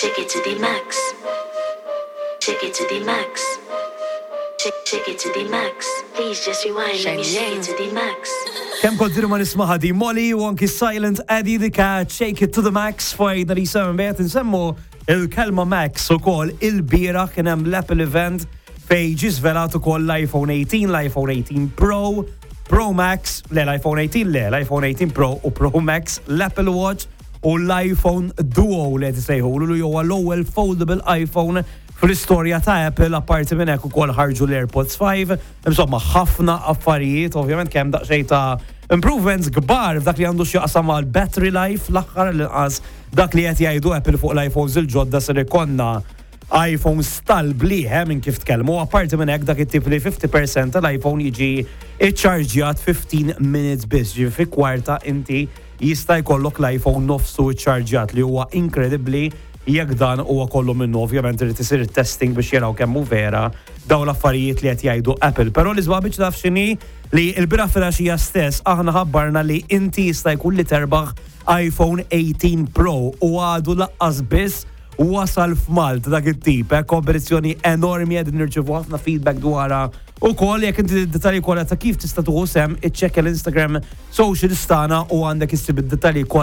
Take it to the max. Take it to the max. Take, take it to the max. Please just rewind. Let me shake it to the max. Kemm kont ma nismaha di Molly u anki Silent Eddie the Cat, Shake It to the Max fajna li seven bet nsemmu il-kelma Max u kol il-bira kien hemm l-Apple event fej ġi żvelat ukoll l-iPhone 18, l-iPhone 18 Pro, Pro Max, le l-iPhone 18 le, l-iPhone 18 Pro u Pro Max, l-Apple Watch u l-iPhone Duo li qed isejħulu li huwa l-ewwel foldable iPhone fl-istorja ta' Apple. Apparti minn hekk ukoll ħarġu l-AirPods 5, insomma ħafna affarijiet, ovvjament kemm daqsxejn ta' improvements kbar f'dak li għandu x'jaqsam mal battery life l-aħħar, l-inqas dak li qed jgħidu Apple fuq l-iPhones il-ġodda. Ser ikollna iPhone tal-bliħ minn kif tkellmu. Apparti minn hekk dak it-tip li 50% tal-iPhone jiġi iċċarġjat 15 minutes biss, ġi fi kwarta inti jista' jkollok l-iPhone nofsu iċċarġjat, li huwa inkredibbli jekk dan huwa kollu minnu. Ovvjament irid isir testing biex jaraw kemm hu vera dawn l-affarijiet li qed jgħidu Apple. Però l-isbaħ biex taf x'inhi li l-bieraħ filgħaxija stess aħna ħabbarna li inti jista' jkun li terbaħ iPhone 18 Pro u għadu lanqas biss wasal f'Malta dak it-tip, kompetizzjoni enormi, qed nirċevu ħafna feedback dwarha. U kol, jekk inti dettalji kollha ta' kif tista' tieħu sehem, iċċekkja l-Instagram social tagħna u għandek issib id-dettalji kollha.